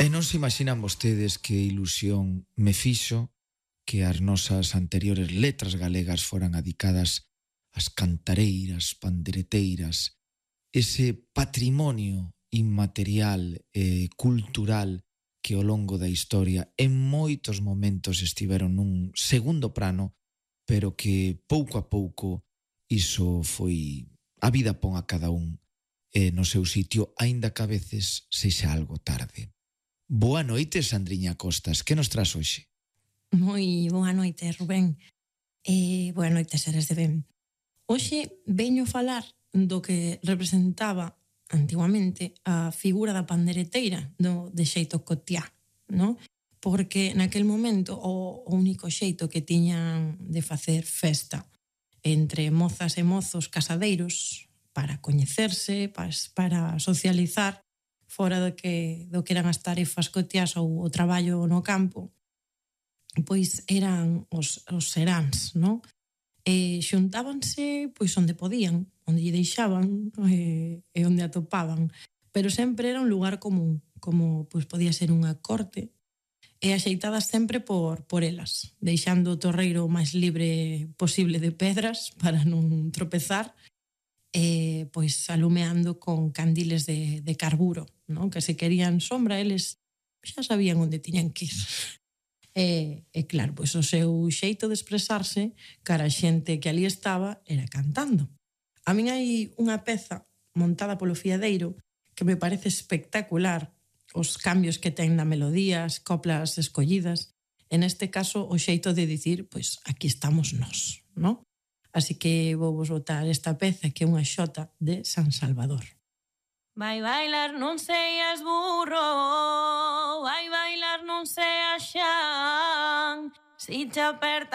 E non se imaginan vostedes que ilusión me fixo que as nosas anteriores letras galegas foran adicadas ás cantareiras, pandereteiras, ese patrimonio inmaterial e cultural que ao longo da historia en moitos momentos estiveron nun segundo plano, pero que pouco a pouco iso foi... A vida pon a cada un no seu sitio, aínda que a veces sexa algo tarde. Boa noite, Sandriña Costas. Que nos tras hoxe? Moi boa noite, Rubén. Boa noite, seres de ben. Hoxe veño falar do que representaba antiguamente a figura da pandereteira de xeito cotiá, non? Porque naquel momento o único xeito que tiñan de facer festa entre mozas e mozos casadeiros para coñecerse, para socializar fora do que eran as tarefas cotiás ou o traballo no campo, pois eran os seráns, non? Xuntábanse pois onde podían, onde lle deixaban e onde atopaban, pero sempre era un lugar común, como pois podía ser unha corte, e axeitadas sempre por elas, deixando o torreiro o máis libre posible de pedras para non tropezar, e pois alumeando con candiles de carburo, non? Que se querían sombra, eles xa sabían onde tiñan que ir. E claro, pois o seu xeito de expresarse cara a xente que ali estaba era cantando. A min hai unha peza montada polo fiadeiro que me parece espectacular, os cambios que ten na melodía, as coplas escollidas, en este caso o xeito de dicir, pois aquí estamos nós, non? Así que vou vos botar esta peza que é unha xota de San Salvador. Vai bailar non seas burro, vai bailar non seas xan, si te aperta